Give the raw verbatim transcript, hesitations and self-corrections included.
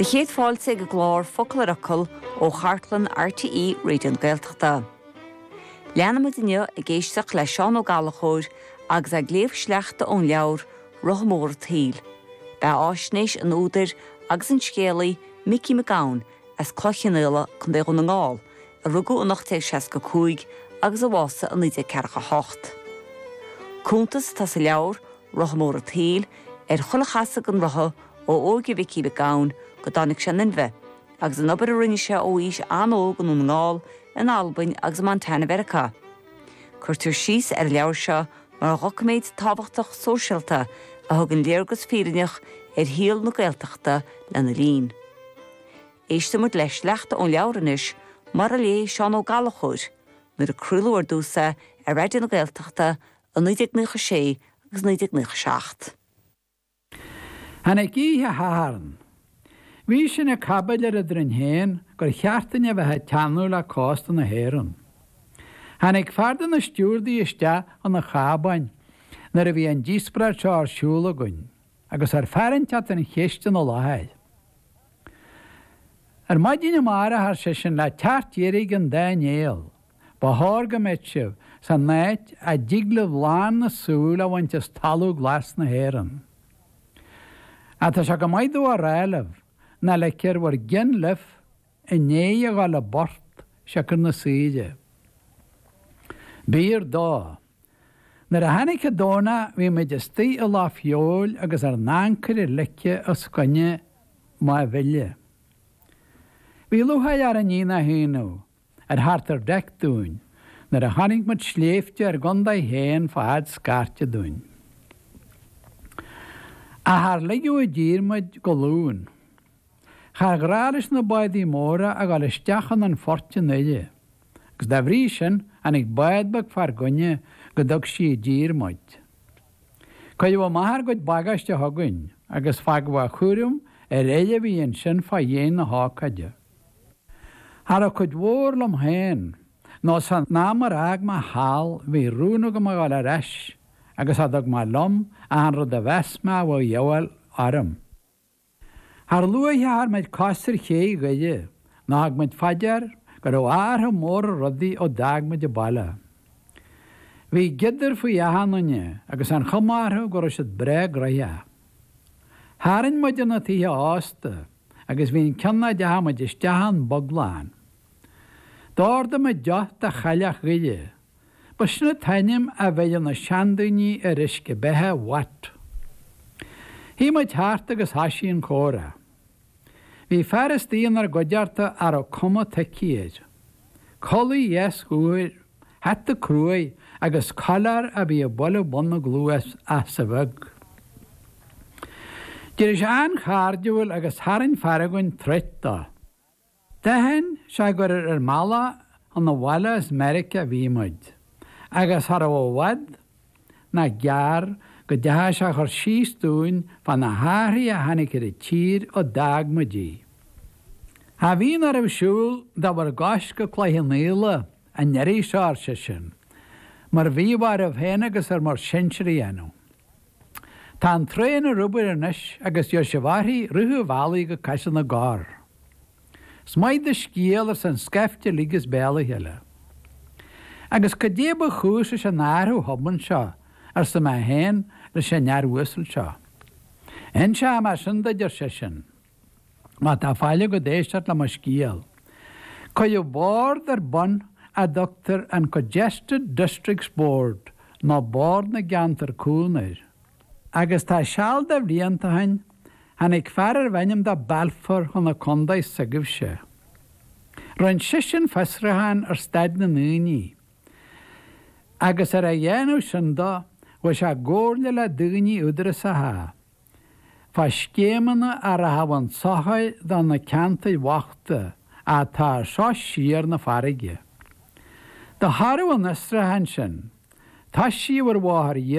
Do chéad fáilte ag an gclár Focal ar Fhocal ó chartlann RTÉ Raidió na Gaeltachta. Leanfaimid inniu ag éisteacht le Seán Ó Gallchóir agus ag léamh sleachta ón leabhar Rotha Mór an tSaoil. Beathaisnéis an údair agus an scéalaí Micí Mac Gabhann as Cloich Chionnaola Contae Dhún na nGall, a rugadh in ocht déag seasca cúig agus a bhásaigh in naoi déag ceathracha hocht. Cuntas atá sa leabhar Rotha Mór an tSaoil ar chuile chasadh den rotha ó óige Mhicí Mhic Gabhann go dtáinig sé in inmhe, agus an obair a rinne sé ó aois an-óg i nDún na nGall, in Albain agus i Montana Mheiriceá. Cuirtear síos ar an leabhar seo mar dhoiciméad tábhachtach sóisialta a thugann léargas fírinneach ar shaol na Gaeltachta lena linn. Éistfimid le sleachta ón leabhar anois mar a léigh Seán Ó Gallchóir, nuair a craoladh ar dtús é ar Raidió na Gaeltachta i naoi déag nócha sé agus naoi déag nócha seacht. Tháinig oíche Shathairn. Bhí sin ag caibidil eadrainn féin gur cheart dúinn a bheith ag teannadh le cósta na hÉireann. Tháinig fear de na stiúrdaí isteach chun an chábáin nuair a bhí an díospóireacht seo ar siúl againn, agus chuir fear inteacht an cheist ina láthair. Ar maidin amárach, ar seisean, le teacht deiridh an dá néal, ba chóir go mbeadh sibh san áit a dtig libh lán na súl a bhaint as talamh glas na hÉireann. Ach tá sé go maith domh a rá libh ná ligfear bhur gcionn libh i ndiaidh a dhul i bport siocair na saoire. B'fhíor dó. Nuair a tháinig an Domhnach bhí muid istigh i Loch Feabhail agus ár n-ancaire ligthe os coinne Maigh Bhile. Bhí lúcháir orainn ní nach ionadh ar theacht ar deic dúinn nuair a chonaic muid sléibhte ár gcontae féin fá fhad scairte dúinn. Ach char ligeadh i dtír muid go Luan. Char ghnách leis na bádaí móra a dhul isteach chun an phoirt i nDoire, agus dá bhrí sin tháinig bád beag fár gcoinne go dtug sí i dtír muid. Cuireadh amach ár gcuid bagáiste chugainn agus fágadh a chúram ar fhir a bhí ansin fá dhéin na hócáide. Cha raibh cuid mhór liom féin, nó san am ar fhág mé thall bhí rún agam a dhul ar ais agus cha dtug mé liom ach an rud a mheas mé a bheadh de dhíobháil orm. Char luaithe a chuir muid cos ar ché Dhoire ná thug muid fá dear go raibh athrú mór ar rudaí ó d'fhág muid an baile. Bhí giodar faoi achan nduine agus an chuma orthu go raibh siad breá gnoitheach. Tharraing muid ar na tithe ósta agus bhí an ceann a dteachaigh muid isteach ann bog lán. D'ordaigh muid deoch de chailleach Dhoire. Ba sin an t-ainm a bheireadh na seandaoine ar uisce beatha Watt. Shuigh muid thart agus thoisigh an comhrá. Bhí fear istigh inár gcuideachta a raibh cuma tuigthe air. Culaith dheas dhubh air, hata cruaidh agus coileár a bhí ag bualadh bun na gcluas as a bheag. D'éirigh sé an-chairdiúil agus tharraing fear againn troit dó. D'aithin sé gur ar an mbealach chun an bhaile as Meiriceá a bhí muid, agus cha raibh i bhfad ná gearr go dteachaigh sé a chur síos dúinn fá na hathruithe a tháinig ar an tír ó d'fhág muid í. Cha bhíonn oraibh siúl de bhur gcois go Cloich Chionnaola an iarraidh seo, ar seisean, mar bhíodh oraibh féin agus ar bhur sinsir a dhéanamh. Tá an traein ar obair anois agus gheobhaidh sibh uirthi rith an bhealaigh go Caiseal na gCorr. 'S maith do scéal, arsa an scaifte uilig as béal a chéile. Agus cad é ba chúis leis an athrú thobann seo, arsa mé féin leis an fhear uasal seo. Inseoidh mé sin duit, ar seisean, má tá faill agat éisteacht le mo scéal. Cuireadh bord ar bun a dtugtar an Congested Districts Board nó Bord na gCeantar Cúng air. Agus tá seal de bhlianta ó shin, tháinig fear arbh ainm dó Balfour chun an chontae s'agaibhse. Rinn seisean fiosrúchán ar staid na ndaoine, agus ar a dhéanamh sin dó, chuaigh sé i gcomhairle le daoine údarasacha fá scéimeanna a rachadh chun sochair do na ceantair bhochta atá seo siar na farraige. De thoradh an fhiosrúcháin sin, toisíodh ar bhóthar